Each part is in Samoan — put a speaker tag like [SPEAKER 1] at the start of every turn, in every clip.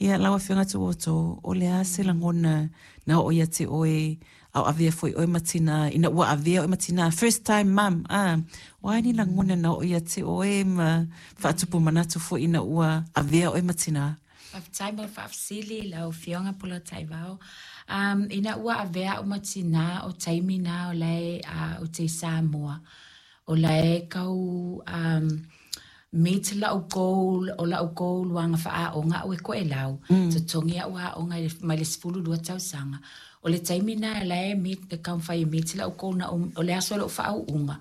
[SPEAKER 1] Ia, lau Afioga Tuuoto, o le a se lagona na oo ia te oe a o avea foi oe ma tina, ina ua avea oe ma tina, first time mum, a, o a ni lagona na oo ia te oe ma faatupu manatu foi ina ua avea oe ma tina?
[SPEAKER 2] Faafetai mo le faafesili lau Afioga Polataivao. Ina ua avea au ma tina, o taimi na o la e ou te i Samoa, o la e tau meet la'u goal, o la'u goal ua aga fa'aaoga a'u e Toelau, totogi a'u aoga mai le 12 tausaga. O le taimi na la e meet, e taumafai e meet la'u goal na o le aso o lo'u fa'au'uga,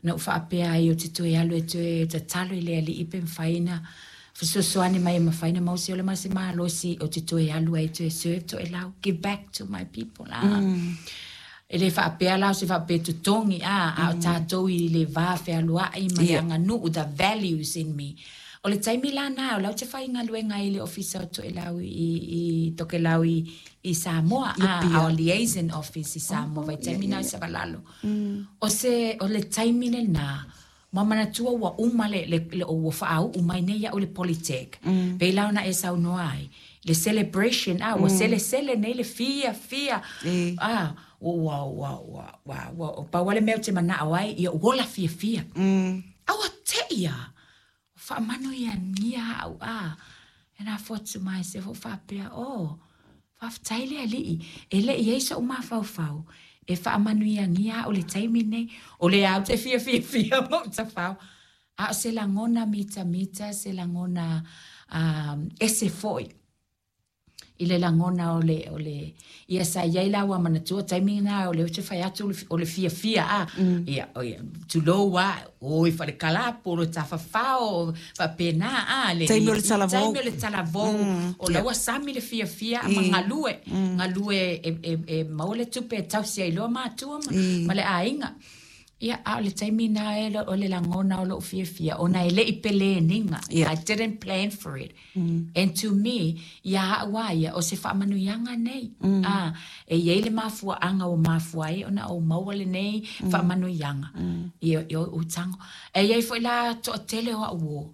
[SPEAKER 2] na ou faapea ai ou te toe alu e toe tatalo i le Alii pe mafai ona fesoasoani mai e mafai ona maua se ola ma se malosi ou te toe alu ai e toe serve Toelau, give back to my people. E le faapea la o se faapea totogi, a, a o tatou i le va fealuai ma le aganuu, the values in me. O le taimi la na, o la ou te faigaluega ai i le Ofisa o Toelau i Tokelau i Samoa, a, our liaison office i Samoa, vaitaimi na i Savalalo. O se, o le taimi lena, ma manatua ua uma le, le, le ua faauu mai nei iaʻu le Polytech. Pei la ona e saunoa ai, le celebration, a, ua selesele nei le fiafia, a, ua, ua, ua, ua, ua, ua, pau lava le mea ou te manao ai, ia ou ola fiafia. A ua teʻi lava, ua faamanuiagia au, a, and I thought to myself, ua ou faapea, oh, faafetai le Alii, e le i i ai soʻu mafaufau e faamanuiagia au i le taimi lenei, o lea ou te fia fiafia ma ou tafao. A o se lagona mitamita, se lagona ese foi i le lagona o le, o le, ia sa i ai la ua manatua taimi na o lea ou te fai atu o le fiafia a, ia, o ia, tulou a, o i falekalapo, o le tafafao, faapena a, le,
[SPEAKER 1] Taimi o le talavou.
[SPEAKER 2] Taimi o le talavou, o la ua sami le fiafia ma galue, galue e maua le tupe e tausi ai loa matua ma le aiga. Ia, a o le taimi na e o le lagona o lou fiafia, ona e le i peleniga. I didn't plan for it. And to me, ia a'u a ia, o se faamanuiaga nei. A, e i ai le mafuaaga ua mafua ai ona ou maua lenei faamanuiaga i ou tago. E i ai foi la toatele o a'u uo,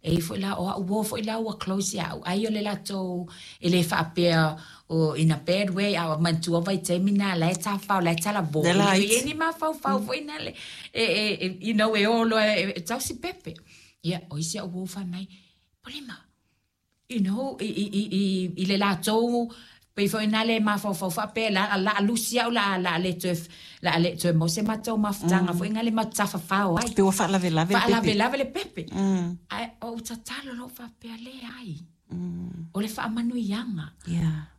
[SPEAKER 2] E i ai foi la, o a'u uo foi la ua close ia a'u, ai o le latou e le faapea o in a bad way, a manatua vaitaimi na la e tafafao, la e talavou, e le o i ai ni mafaufau foi na le, e, you know, e o loa e tausi pepe. Ia, o isi a'u uo fai mai, Polima, you know, i le latou pei foi na le mafaufau faapea la la lusi au la la le toe la le toe maua se matou mafutaga foi na le matou tafafao ai.
[SPEAKER 1] Pe ua faalavelave le
[SPEAKER 2] pepe. Faalavelave le pepe. Ae ou tatalo loa faapea leai. O le faamanuiaga.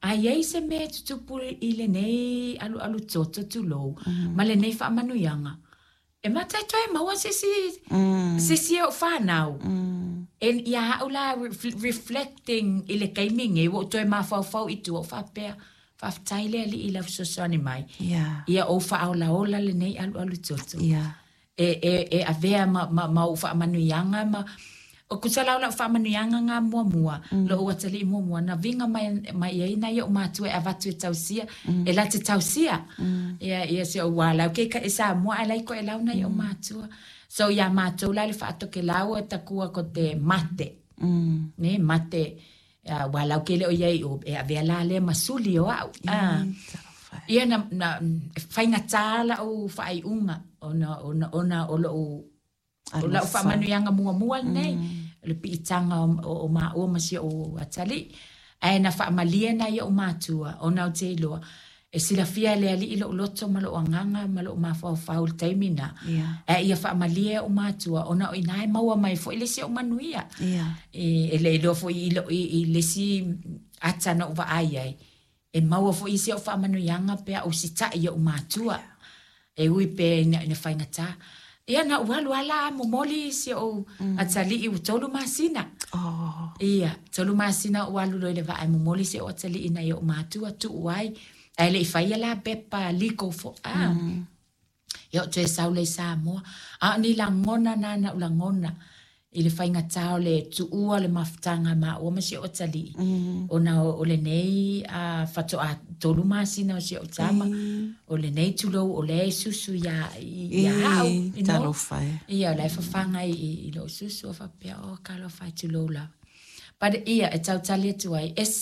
[SPEAKER 2] A i ai se mea e tutupu i lenei alualu toto tulou ma lenei faamanuiaga, E mata e toe maua se isi, se isi o ou fanau. And ia a'u la reflecting i le taimi nei, ua ou toe mafaufau i tua, ou faapea, faafetai le Alii i lau fesoasoani mai. Ia ou faaolaola lenei alualu toto. E avea ma ou faamanuiaga ma O tusa la o lau faamanuiaga na muamua, lou atalii muamua, na viga mai, mai ai nai o'u matua e avatu e tausia, e la te tausia. Ia, ia si o'u ua lau ke i Samoa ae la i Toelau nai o'u matua. So iā matou la i le Faatokelau e takua ko te mate. Ne, mate, ua lau ke le o i ai o, e avea la lea ma suli o a'u. Ia na, na, faigata la'u faaiuga ona, ona, ona o lo'u O lau faamanuiaga muamua lenei, o le piitaga o maua ma si ou atalii. Ae na faamalie nai o'u matua, ona ou te iloa, e silafia e le Alii lou loto ma lou agaga ma lou mafaufau i le taimi na. Ae ia faamalie o'u matua, ona o i ina e maua mai foi le isi o'u manuia. E le iloa foi i le isi ata na ou vaai ai, E maua foi i si o'u faamanuiaga pe a ou sita'i i o'u matua, e ui pea ina faigata. Ia na ou alu a la a momoli si o'u atalii ua 3 masina. Ia, 3 masina ou alu loa i le vaa e momoli si o'u atalii nai o'u matua, tuu ai, ae le i faia la pepa legal fo, a. Ia ou toe sau lea i Samoa. A o ni lagona na na ou lagona i le faigata o le tuua o le mafutaga a maua ma si ou atalii, ona o lenei faatoa 3 masina o si ou tama, o lenei tulou o lea e susu ia au, you know.
[SPEAKER 1] Talofa e.
[SPEAKER 2] Ia, o la e fafaga i lou susu, faapea, oh, talofa e, tulou lava. But ia, e tautali atu ai, e